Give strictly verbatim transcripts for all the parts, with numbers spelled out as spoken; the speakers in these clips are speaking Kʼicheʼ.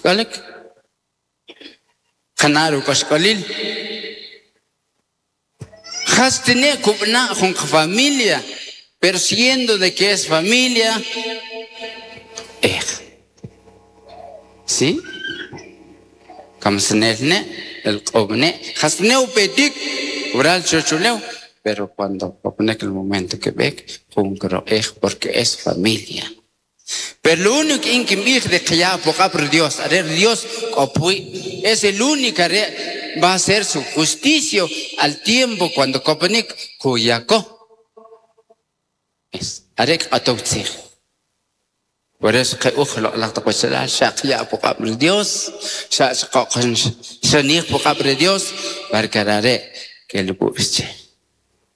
Ujk'olik qana' ruk'axk'olil jas tine' kub'na' jun familia pero siendo de que es familia ej ¿sí? Kamsanel ne' el q'ob'ne' jas ne' upetik wural chochulew pero cuando koponek el momento que b'ek jun kiroq'ej porque es familia. Pero lo único in kinb'ij de qaya' puq'ab' ri Dios, are Dios k'o pwi' es el único are va a hacer su justicia al tiempo cuando koponik kuyako. Es are kq'atow tzij. Por eso qe uj loq'laj taq wachalal xa qaya' puq'ab' ri Dios, xa xanij puq'ab' ri Dios para que are' kel ub'is che.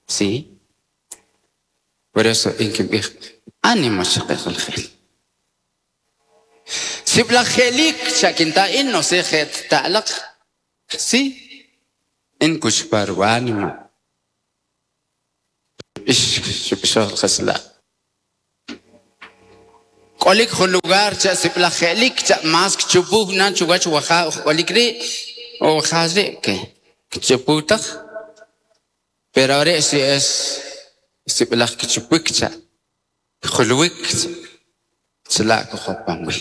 ¿Sí? Por eso in kinb'ij ánimo chaqe qonojel. Sib'laj je'lik chakinta in no sé je' ta'laq. ¿Sí? In kuchpar wanima. Ix xub'ixoj qasla'. K'olik jun lugar cha sib'laj je'lik cha mas kchupuj nan chuwach waja k'olik ri' o waja ri' ke kchupuj taj. Pero ahora si es sib'laj kchupik cha julwik chala' kujopan wi.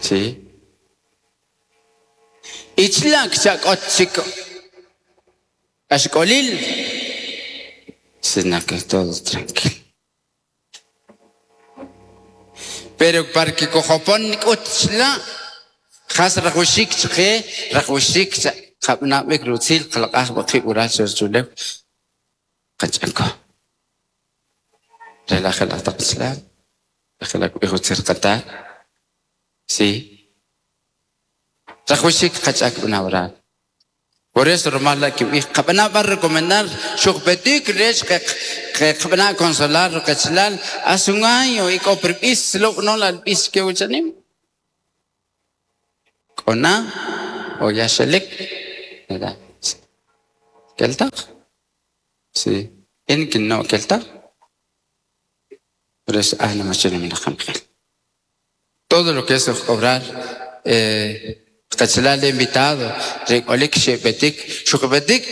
¿Sí? Ichla kcha k'ot chik axk'olil sino que todo tranquilo. Pero para que kujopon k'ut chla jas rajwaxik chqe rajwaxik cha qab'nab'ik rutzil qalq'aj b'aqib' wural chulew qach'ako. Relaja la taqslal rajela k'b'ij utzil qatat. ¿Sí? Rajwaxik qach'ak b'nawral. Por eso rumal la kinb'ij qab'ana b'ar recomendar xuqpetik rech qe qab'ana consolar qachalal hace un año y k'o pirb'is lo no la b'is ke wuchanim. K'ona o ya xelik ¿verdad? Keltaq? Sí. In kinno keltaq? Por eso ah no Todo lo que es cobrar eh qachalal invitado rik'olik xe'petik xuqpetik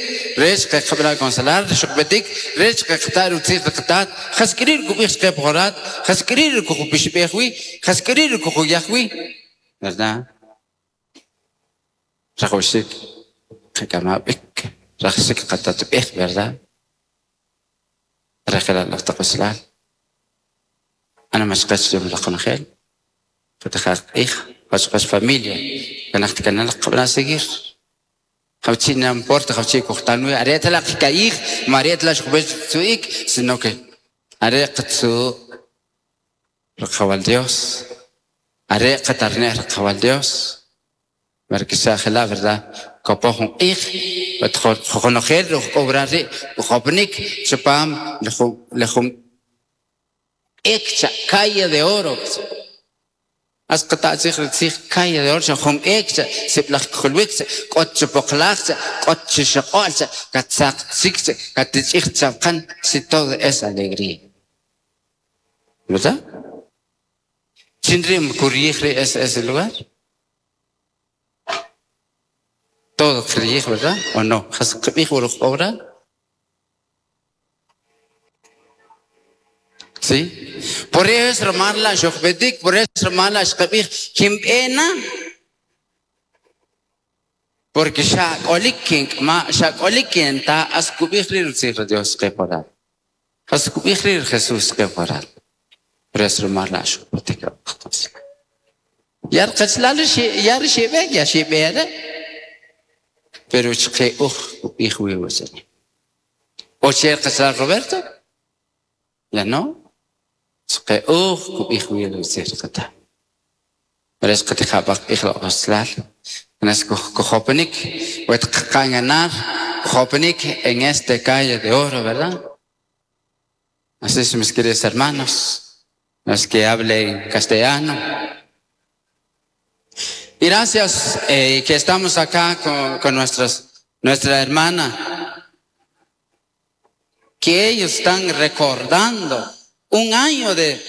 rech qe qab'ana consolar xuqpetik rech qeqta' rutzij riqtaat jas k'iri' kub'ij chqe pjorat jas k'iri' kujupixb'ej wi jas k'iri' kujuyaj wi ¿verdad? Rajwaxik qak'amab'ik rajwaxik qatatb'ej ¿verdad? Rajela laj taq wachalal ana machqach la qonojel qatijaq q'ij qach familia kanaj kanal qab'ana seguir jawchi' no importa jawchi' kujtan wi are tla qka'ij ma are tla xuqb'ej tzu'ik sino que are qatzu' riqawal Dios are qatarnej riqawal Dios porque xa jela' verdad kopoj jun q'ij qonojel k'o ri' kujopnik chipam le jun ek cha calle de oro As qata' tzij tzij calle de oro cha jun ek cha sib'laj kjulwik cha k'ot chipoqlaj cha k'ot chixaq'o'l cha katzaq tzik cha katich'ij chapqan si todo es alegría. ¿Verdad? ¿Chin ri' kuryij ri' ese ese lugar? Todo qriyij, ¿verdad? ¿O no? Jas qb'ij wuruj obra? ¿Sí? Por eso ramarla xuqpetik, por eso ramarla xqab'ij kimb'ena porque xa k'olik kink'ma xa k'olik kinta as kub'ij ri' rutzij ri Dios qe poral. As kub'ij ri' Jesús qe poral. Por eso ramarla xuqpetik. Yar qachalal yar xib'ek ya xib'ere. Pero chqe uj kub'ij wi wasani. O che qachalal Roberto? Ya no? Chqe uj kub'ij wi rutzij qata. Pero es qatijab'aq q'ij loq'oslal. Nas kujoponik, wet qaqanganar, kujoponik en este calle de oro, ¿verdad? Así es, mis queridos hermanos, los que hablen castellano. Y gracias eh, que estamos acá con, con nuestras, nuestra hermana, que ellos están recordando un año de